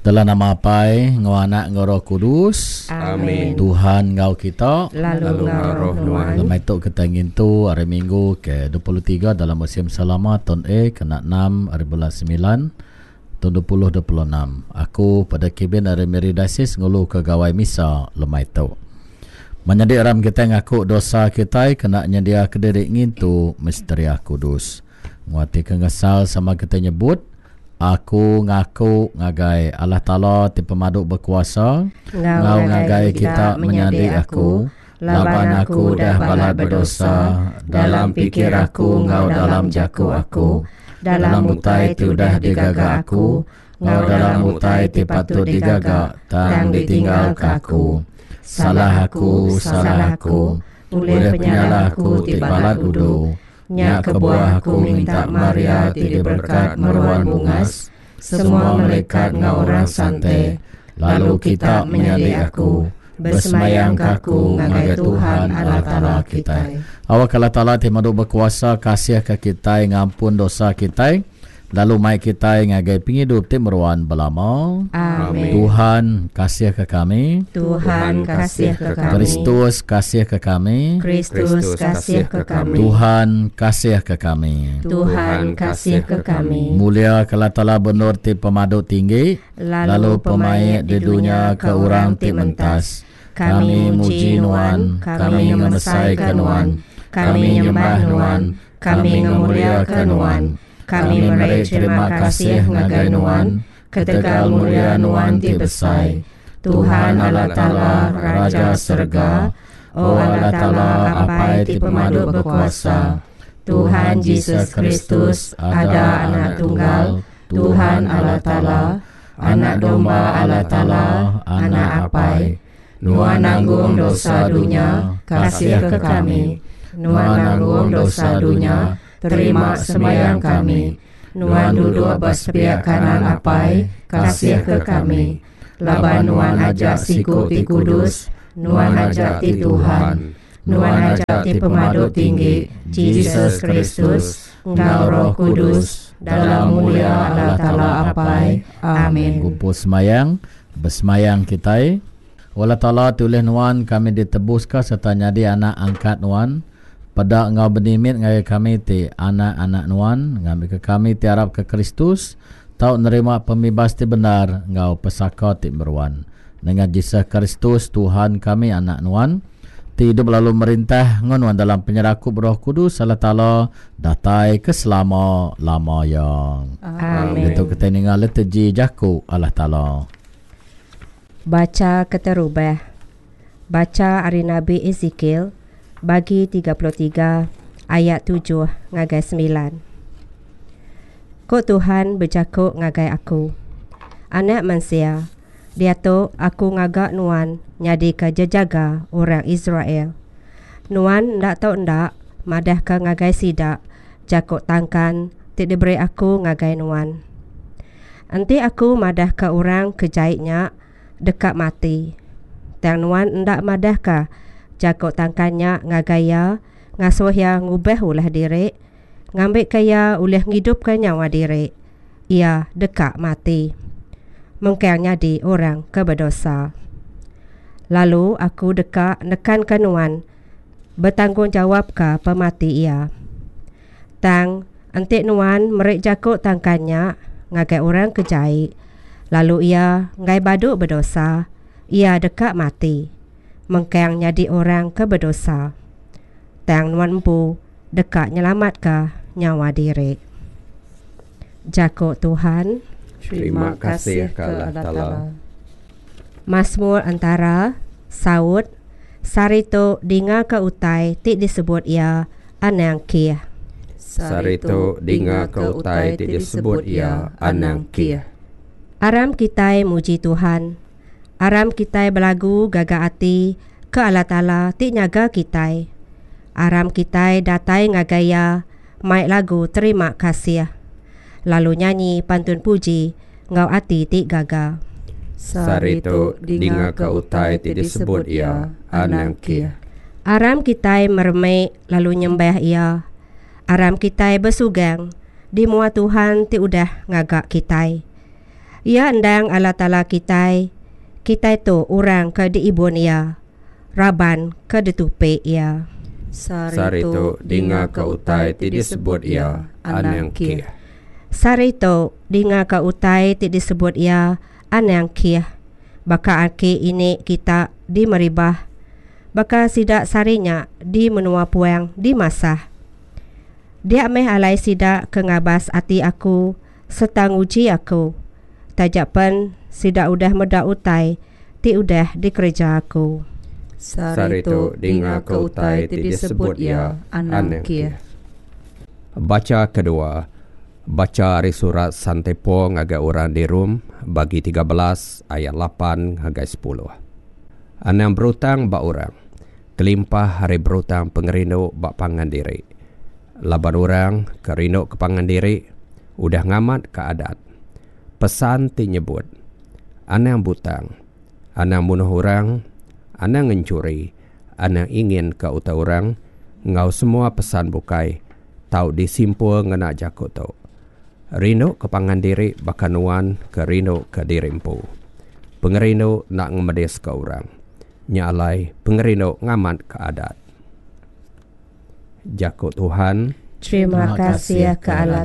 Dalam nama Apai, enggau Anak, enggau Roh Kudus. Amin. Tuhan enggau kita. Lalu enggau roh nuan. Lemai tu kita ngintu hari Minggu ke 23 dalam musim selama tahun A kena 6 hari bulan 9 tahun 2026. Aku pada kibin ari Miri Diocese ngulu ke gawai misa lemai tu. Menyadi aram kitai ngaku dosa kitai kena nyendia ke diri ngintu misteria kudus. Nguati ke ngesal sama kitai nyebut, Aku ngaku ngagai Allah Taala ti pemadu bekuasa, enggau ngagai kita menyadi aku, laban aku udah balat bedosa dalam pikir aku enggau dalam jaku aku, dalam utai ti udah digaga aku, enggau dalam utai ti patut digaga tang ditinggalka aku. Salah aku, salah aku, ulih penyalah aku ti balat udu. Nya kebuah aku minta Maria ti diberkat meruan bungas, semua melikat enggau orang sante, lalu kita menyadi aku, besemayangka aku ngagai Tuhan Allah Taala kitai. Awakka Allah Taala ti madu bekuasa kasihka kitai ngampun dosa kitai, lalu mai kitai ngagai pengidup ti meruan belama. Amin. Tuhan kasihka kami. Tuhan kasihka kami. Kristus kasihka kami. Kristus kasihka kami. Tuhan kasihka kami. Tuhan kasihka kami. Mulia ke Allah Taala benur ti pemadu tinggi, lalu pemaik di dunya ke orang ti mentas. Kami muji nuan, kami ngemesaika nuan, kami nyembah nuan, kami ngemuliaka nuan. Kami meri terima kasih ngagai Nuan ketegal mulia Nuan ti besai. Tuhan Allah Taala, Raja serega, O Allah Taala Apai ti pemadu bekuasa, Tuhan Jesus Kristus, ada Anak Tunggal, Tuhan Allah Taala, Anak Domba Allah Taala, Anak Apai, Nuan nanggung dosa dunya, kasihka kami. Nuan nanggung dosa dunya, terima sembahyang kami. Nuan duduk ba sepiak kanan Apai, kasihka kami. Laban Nuan aja siku ti kudus, Nuan aja ti Tuhan. Nuan aja ti pemadu tinggi, Jesus Kristus, enggau Roh Kudus, dalam mulia Allah Taala Apai. Amin. Gumpul semayang, besemayang kitai. O Allah Taala ti ulih Nuan kami ditebuska sereta nyadi anak angkat Nuan, peda enggau benimit ngagai kami ti anak-anak Nuan, ngambika kami ti arapka Kristus tau nerima pemibas ti bendar enggau pesaka ti meruan. Nengah Jesus Kristus Tuhan kami Anak Nuan, ti idup lalu merintah enggau Nuan dalam penyerakup Roh Kudus Allah Taala datai ke selama-lama iya. Amin. Ditu kitai ninga liturgi jaku Allah Taala. Bacha keterubah. Bacha ari Nabi Esekiel bagi 33 ayat 7 ngagai 9. Ku Tuhan bejaku ngagai aku, Anak mensia, diatu aku ngaga nuan nyadika jejaga orang Israel. Nuan enda tau enda madahka ngagai sida jaku tangkan ti diberi aku ngagai nuan. Enti aku madahka orang ke jai nya deka mati, tang nuan enda madahka jaku tangkan nya ngagai iya ngasuh iya ngubah ulah diri ngambika iya ulih ngidupka nyawa diri, iya deka mati. Mengkang nyadi orang ke bedosa. Lalu aku deka nekanka nuan betanggungjawapka pemati iya. Tang, enti nuan meri jaku tangkan nya ngagai orang ke jai, lalu iya enggai badu bedosa, iya deka mati, mengkang nyadi orang ke bedosa. Tang nuan empu deka nyelamatka nyawa diri. Jaku Tuhan. Terima kasih ke Allah Taala. Masmur entara, saut, Sehari tu dingaka utai ti disebut iya anang kih. Sehari tu dingaka utai ti disebut iya anang kih. Aram kitai muji Tuhan. Aram kitai belagu gaga ati ke Allah Taala ti nyaga kitai. Aram kitai datai ngagai Iya mai lagu terima kasih, lalu nyanyi pantun puji enggau ati ti gaga. Sehari tu, dingaka utai ti disebut iya, anang kih. Aram kitai meremi lalu nyembah Iya. Aram kitai besugang di mua Tuhan ti udah ngaga kitai. Iya endang Allah Taala kitai, kitai tu orang ke diibun Iya, raban ke ditupi Iya. Sehari tu, dingaka utai ti disebut Iya, Anang kih. Sehari tu, dingaka utai ti disebut Iya, Anang kih. Baka aki ini kita di Meribah, baka sida sehari nya di menua puang di Masah. Dia meh alai sida ke ngabas ati Aku sereta nguji Aku, taja pen sida udah meda utai ti udah dikereja Aku. Sehari tu, dingaka utai ti disebut iya, Anang kih. Bacha kedua. Bacha ari surat Sante Paul ngagai orang di Rome, bagi 13 ayat 8 ngagai 10. Anang berutang ba orang, kelimpah ari berutang pengerindu ba pangan diri. Laban orang ke rindu ke pangan diri udah ngamatka adat. Pesan ti nyebut, Anang butang, anang munuh orang, anang ngenchuri, anang inginka utai orang, enggau semua pesan bukai tau disimpul ngena jaku tu, Rindu ke pangan diri baka nuan ke rindu ke diri empu. Pengerindu enda ngemediska orang. Nya alai, pengerindu ngamatka adat. Jaku Tuhan. Terima kasih ke Allah.